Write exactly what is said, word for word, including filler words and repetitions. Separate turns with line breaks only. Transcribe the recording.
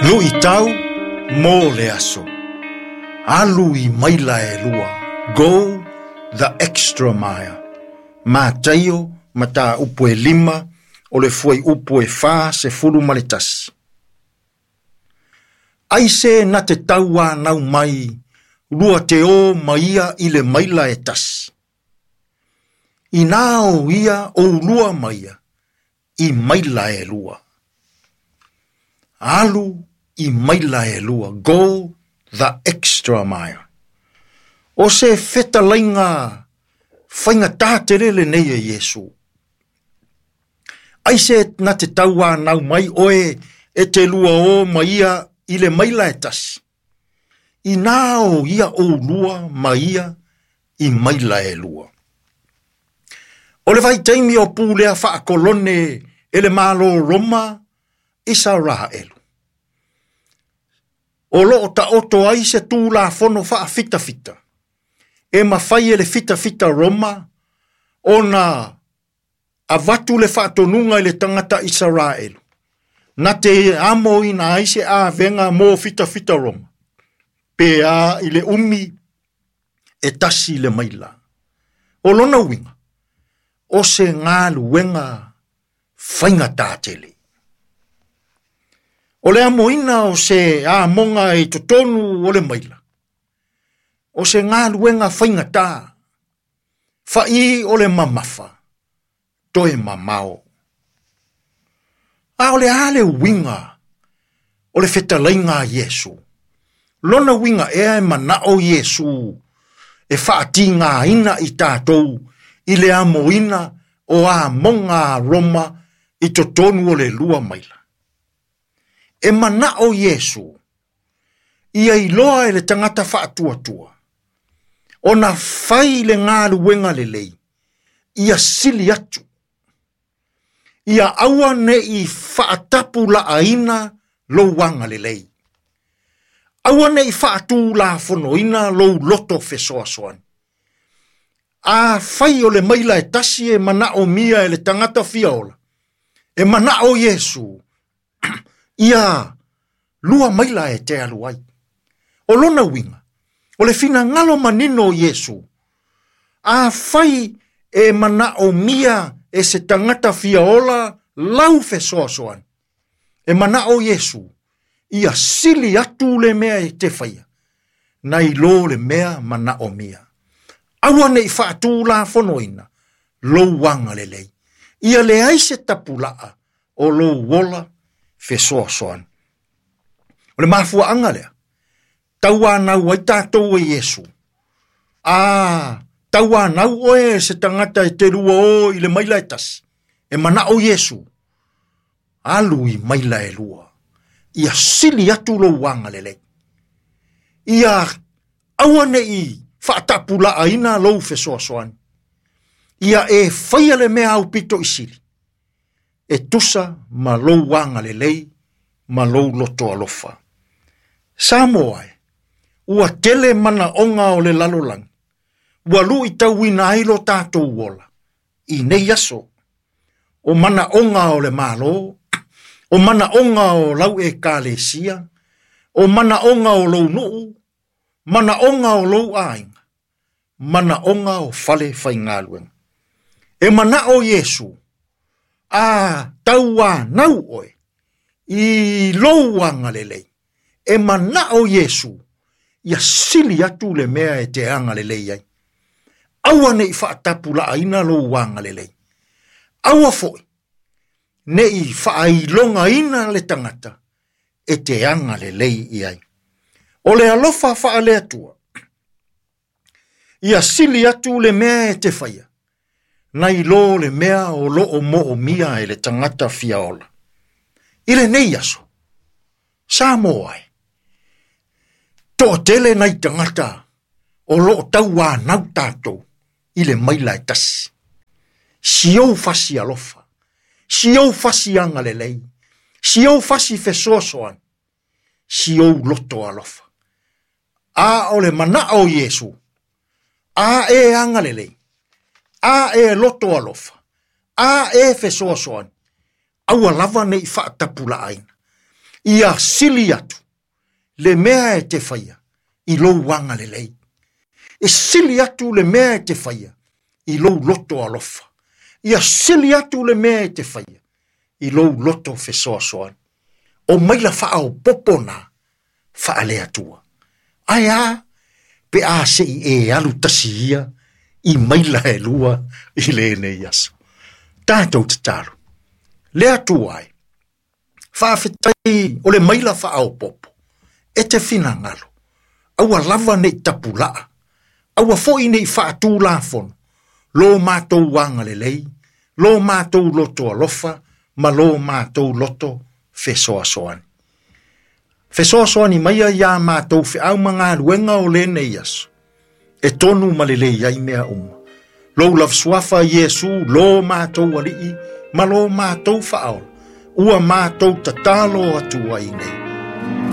Luʻitau mo le aso. Alu i maila e lua. Go the extra mile. Mataio mataupu e lima o le fuaiupu e fa sefulu ma le tasi. Aise na te tauanau mai lua te o ma ia i le maila e tasi. Inā o ia o ulua ma ia i maila e lua. Alu i maila e lua. Go the extra mile. O se fetalaiga faigata tele lenei e Iesu. Aise na te tauanau mai oe e te lua o ma ia i le maila e tasi. Inā o ia o ulua ma ia i maila e lua. O le vaitaimi o pulea faakolone e le Malo Roma Isaraelu. O loo taoto ai se tulafono faafitafita. E mafai e le fitafita Roma ona avatu le faatonuga i le tagata Isaraelu. Na te amoina ai se avega mo fitafita Roma. Pe a i le umi e tasi le maila. O lona uiga, o se galuega faigata tele. O le amoina o se amoga i totonu o le maila. O se galuega faigata. Fai o le mamafa, toe mamao. A o le a le uiga o le fetalaiga a Iesu. Lona uiga ea e manao Iesu e faatigaina i tatou i le amoina o amoga a Roma i totonu o le lua maila. E manao Iesu ia iloa e le tagata faatuatua ona fai le galuega lelei ia sili atu. Ia aua nei faatapulaaina lou agalelei. Aua nei faatulafonoina lou loto fesoasoani. A fai o le maila e tasi e manao mia e le tagata fiaola. E manao Iesu ia lua maila e te alu ai. O lona uiga, o le finagalo manino o Iesu. A fai e manao mia e se tagata fiaola lau fesoasoani. E manao Iesu ia sili atu le mea e te faia. Nai lo le mea manao mia. Aua nei faatulafonoina lou agalelei. Ia leai se tapulaa o lou ola fesoasoani. O le mafuaaga lea, tauanau ai tatou e Iesu. A tauanau oe se tagata e te lua o i le maila e tasi. E manao Iesu, alu i maila e lua. Ia sili atu lou agalelei. Ia aua nei faatapulaaina lou fesoasoani. Ia e faia le mea aupito i sili. E tusa ma lou agalelei ma lou loto alofa. Samoa e, ua tele manaoga o le lalolagi. Ua luitauina ai lo tatou ola. I nei aso, o manaoga o le Malo, o manaoga o lau ekalesia, o manaoga o lou nuu, manaoga o lou aiga, manaoga o fale faigaluega. E manao Iesu, a tauanau oe, i lou agalelei. E manao Iesu, ia sili atu le mea e te agalelei ai. Aua nei faatapulaaina lou agalelei. Aua foi, nei faailogaina le tagata e te agalelei i ai. O le alofa faale Atua, ia sili atu le mea e te faia, nai lo le mea o loo moomia e le tagata fiaola. I lenei aso, Samoa e, toatele nai tagata o loo tauanau tatou i le maila e tasi. Si ou fasi alofa, si ou fasi agalelei, si ou fasi fesoasoani, si ou loto alofa. A o le manao o Iesu, a e agalelei, a e loto alofa, a e fesoasoani, aua lava nei faatapulaaina. Ia sili atu le mea e te faia i lou agalelei. E sili atu le mea e te faia i lou loto alofa. Ia sili atu le mea e te faia i lou loto fesoasoani. O maila faaopoopo na faale-Atua. Ae a pe a se i e alu tasi ia i maila e lua i lenei aso. Tatou tatalo. Le Atua e, faafetai o le maila faaopoopo e te finagalo. Aua lava nei tapulaa, aua foi nei faatulafono, lo matou agalelei, lo matou loto alofa, ma lo matou loto fesoasoani. Fesoasoani maia ia matou feau ma galuega o lenei aso, e tonu ma lelei ai mea uma. Lou lava suafa Iesu, lo matou alii, ma lo matou faaola, ua matou tatalo atu ai nei.